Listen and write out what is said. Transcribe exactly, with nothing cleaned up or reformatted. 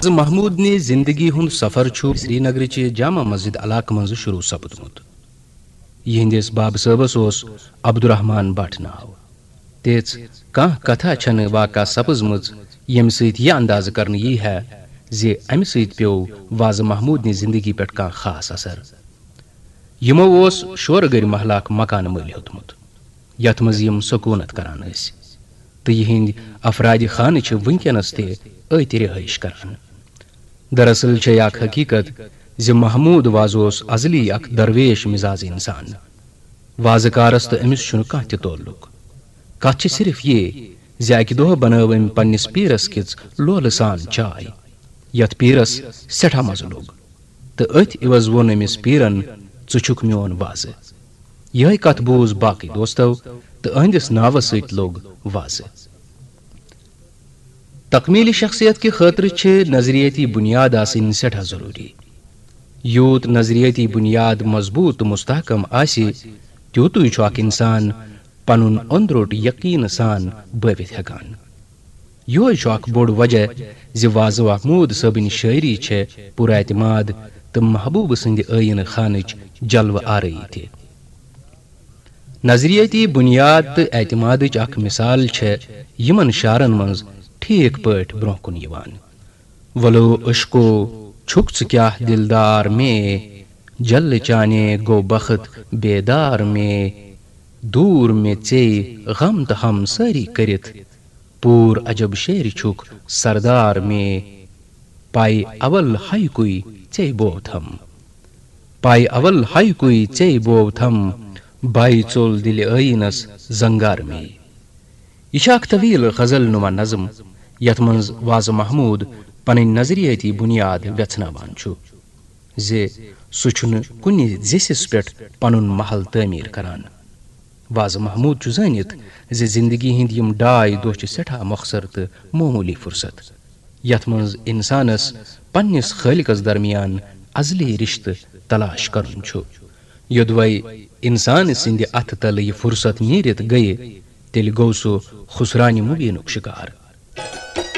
محمود نہِ زندگی ہُنٛد سفر چھُ سرینگرٕچہِ جامع مسجد علاقہٕ منٛزٕ شروع سپدمُت۔ یِہنٛدِس بابہٕ صٲبس اوس عبدالرحمان بٹ ناو۔ تِژھ کانٛہہ کتھا چھنہٕ واقع سپٕزمٕژ، ییٚمہِ سۭتۍ یہِ اندازٕ کرنہٕ یی ہے زِ امہِ سۭتۍ پیوٚو وازٕ محمود نہِ زندگی پٮ۪ٹھ کانٛہہ خاص اثر۔ یِمو اوس شورٕ گٔرۍ محلہٕ اکھ مکانہٕ مٔلۍ ہیوٚتمُت، یتھ منٛز یِم سکوٗنت کران ٲسۍ، تہٕ یِہنٛدۍ افرادِ خانہٕ چھِ وٕنکیٚنس تہِ أتۍ رِہٲیِش کران۔ دراصل چھے اکھ حقیقت زِ محمود وازٕ اوس ازلی اکھ درویش مزاز انسان۔ وازٕ کارس تہٕ أمِس چھُنہٕ کانٛہہ تہِ تعلق۔ کتھ چھِ صرف یہِ زِ اکہِ دۄہ بنٲو أمۍ پننِس پیٖرس کِژھ لولہٕ سان چاے، یتھ پیٖرس سٮ۪ٹھاہ مزٕ لوٚگ، تہٕ أتھۍ عوض ووٚن أمِس پیٖرن، "ژٕ چھُکھ میون وازٕ۔" یِہے کتھ بوٗز باقٕے دوستو، تہٕ أہنٛدِس ناوس سۭتۍ لوٚگ وازٕ۔ تکمیل شخصیت کہِ خٲطرٕ چھِ نظریٲتی بنیاد آسٕنۍ سٮ۪ٹھاہ ضروٗری۔ یوٗت نظریٲتی بنیاد مضبوٗط تہٕ مستحکم آسہِ، تیوٗتُے چھُ اکھ انسان پنُن أنٛدروٚٹ یقیٖنہٕ سان بٲوِتھ ہٮ۪کان۔ یِہوٚے چھُ اکھ بوٚڑ وجہ زِ وازٕ محمود صٲبٕنۍ شٲعری چھےٚ پُراعتماد تہٕ محبوٗبہٕ سٕنٛدِ ٲیٖنہٕ خانٕچ جلوٕ آرٲیی تہِ۔ نظریٲتی بنیاد تہٕ اعتمادٕچ اکھ مثال چھےٚ یِمن شعرن منٛز ٹھیٖک پٲٹھۍ برٛونٛہہ کُن یِوان۔ "ولو عشقو، چھُکھ ژٕ کیٛاہ دلدار مے، جل چانے گو بخت بیدار مے، دوٗر مےٚ ژے غم تہٕ ہم سٲری کٔرِتھ، پوٗر عجب شعر چھُکھ سردار مے، پاے اول ہاے کوئی ژے بوتھم، پاے اول ہاے کوئی ژے بوتھم، باے ژوٚل دِلہِ ٲیٖنس زنگار مے۔" یہِ چھِ اکھ طویل غزل نما نظم، یتھ منٛز وازٕ محمود پنٕنۍ نظریٲتی بنیاد ویژھناوان چھُ زِ سُہ چھُنہٕ کُنہِ زِسِس پٮ۪ٹھ پنُن محل تعمیٖر کران۔ وازٕ محمود چھُ زٲنِتھ زِ زندگی ہٕنٛدۍ یِم ڈاے دۄہ چھِ سٮ۪ٹھاہ مۄخصر تہٕ معموٗلی فرصت، یتھ منٛز انسانس پننِس خٲلقس درمیان ازلی رشتہٕ تلاش کرُن چھُ۔ یوٚدوے انسان سٕنٛدِ اتھٕ تلہٕ یہِ فرصت نیٖرِتھ گٔیہِ، تیٚلہِ گوٚو سُہ خسرانہِ مبیٖنُک شکار۔